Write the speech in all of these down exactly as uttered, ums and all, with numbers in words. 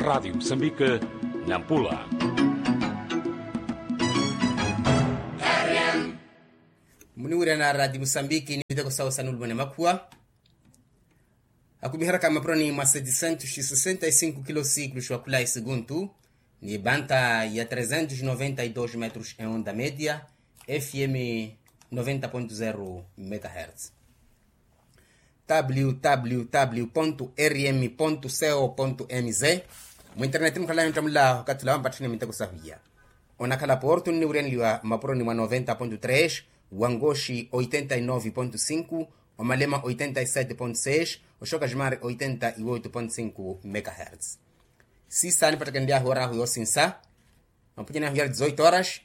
Radiyo musambike, nampula. Muniwirana radiyo musambike ni miteko sawe sanulumane makhuwa. Akumiheraka mapuroni mwa setisentos sesenta e sinku kilo sikulu xwa khula e sikuntu, ni banta ya tresentos noventa e dos metros e onda media, fm noventa ponto zero megahertz. Www rm co mz. Mwinternet mukhala yontamula okathula wampatthani minteko sahuya. Onakhala porto nniwiryanliwa mapuroni mwa noventa ponto tres, wangoxi oitenta e nove ponto sinku, omalema oitenta e sete ponto seis, oxoka ximari oitenta e oito ponto sinku megahertz. Sisa nipattekenlyahu orahu yosinsa. Mapunyani ahu yari dizoito horas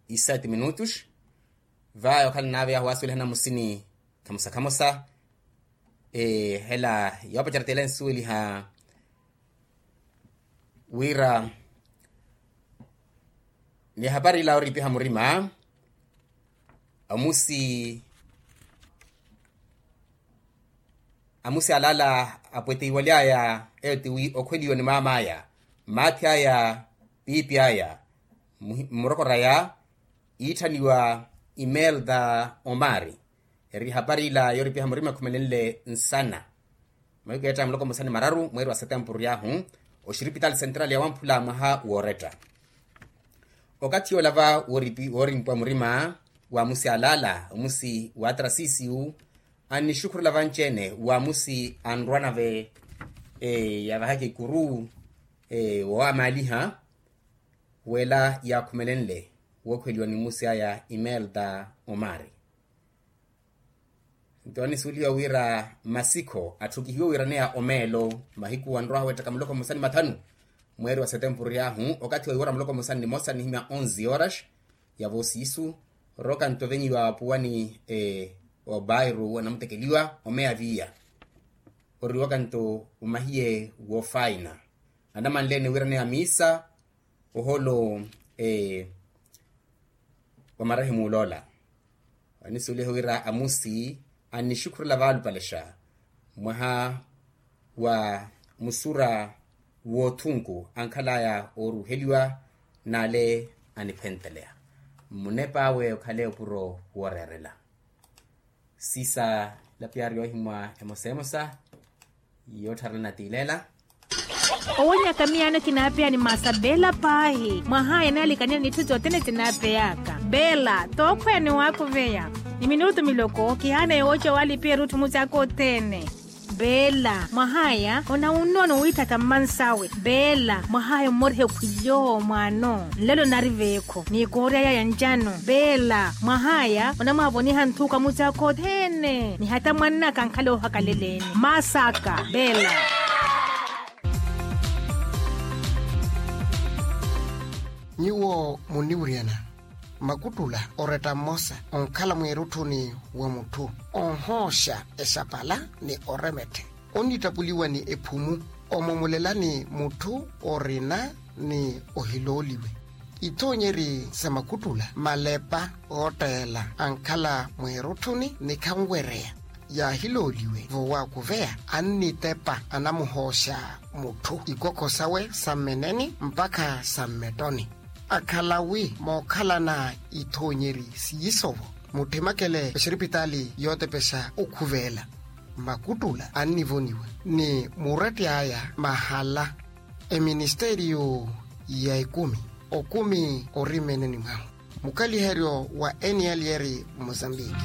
e sete minutos. Vaya okhala nave yahu wasuwelihana musini khamosa khamosa. Hela yoopacera tela ensuweliha wira ni hapari ila oripiha murima. Amusi amusi alala apweteiwalyaya eyo tiwi okhweliwa ni maamaya, maathi aya, piipi aya, mmurokorwa aya iitthaniwa imelda omari. Eri hapari ila yooripiha murima ekhumelenle nsana. Mahiku eetta muloko musani mararu mweeri wa setempuru yahu, oxiripitali sentrali ya wamphula mwaha wooretta. Okathi yoolava woorimpwa murima wa musi alala omusi wa trasisiyu, annixukhurela vanci-ene wa musi anrwanave yavahaka ikuru woowaamaaliha, wela yaakhumelenle wookhweliwa ni musi aya imelda omari. Nto annisuweliwa wira masikho atthukihiwe wiiraneya omeelo mahiku anrwaha weettaka muloko mmosa ni mathanu mweeri wa setempuru yahu, okathi wa iwora muloko mmosa ni nimosa nihimya onze horas. Yavo siisu, roka nto venyiwa puwani wa bairu anamutekeliwa omeya viya. Oriwaka nto omahiye woofaina anamanleene wiiraneya miisa oholo wa marahimu oloola. Anisuweliha wira amusi annixukhurela vaalupalexa mwaha wa musura woothunku ankhalaya ooruheliwa n'ale aniphenteleya. Mmunepa awe okhale opuro wooreerela. Sisa lapiyaari yoohimwa emosa emosa yoottharana tiileela. Owonyaka miyaano kinaapeya ni maasa beela paahi mwahaya naalikanile n'itthu sothene sinaapeyaka. Beela tookhweya ni waakuveya ni minutu miloko kihaana yooca waalipiya erutthu mucaaka othene. Beela mwahaya onawunnono wiitthaka mmansawe. Beela mwahaya ommoriha ekhwilyo mwaano nlelo nari veekho n'ikoorya yaya ncano. Beela mwahaya onamwaavoniha nthuka mucaaka othene ni hata mwannaka ankhala oohakaleleeni maasaka. Beela. Nyuwo munniwiryana makuttula oretta mmosa onkhala mweerutthuni wa mutthu onhooxa exapala ni oremetthe onnittapuliwa ni ephumu omomolelani mutthu orina ni ohilooliwe. Ithoonyeri sa makuttula malepa ootteela ankhala mweerutthuni ni khanwereya yaahilooliwe vowaakuveya annitepa anamuhooxa mutthu ikokho sawe sa mmeneni mpakha sa mmettoni. Akhala wi mookhalana ithoonyeri siisovo mutthimakele exiripitaali yootepexa okhuveela. Makuttula annivoniwa ni muretti aya mahala eministeriyo ya ekumi okumi ori mmeneni mwahu. Mukaliheryo wa eniyaliyeri mozambiki.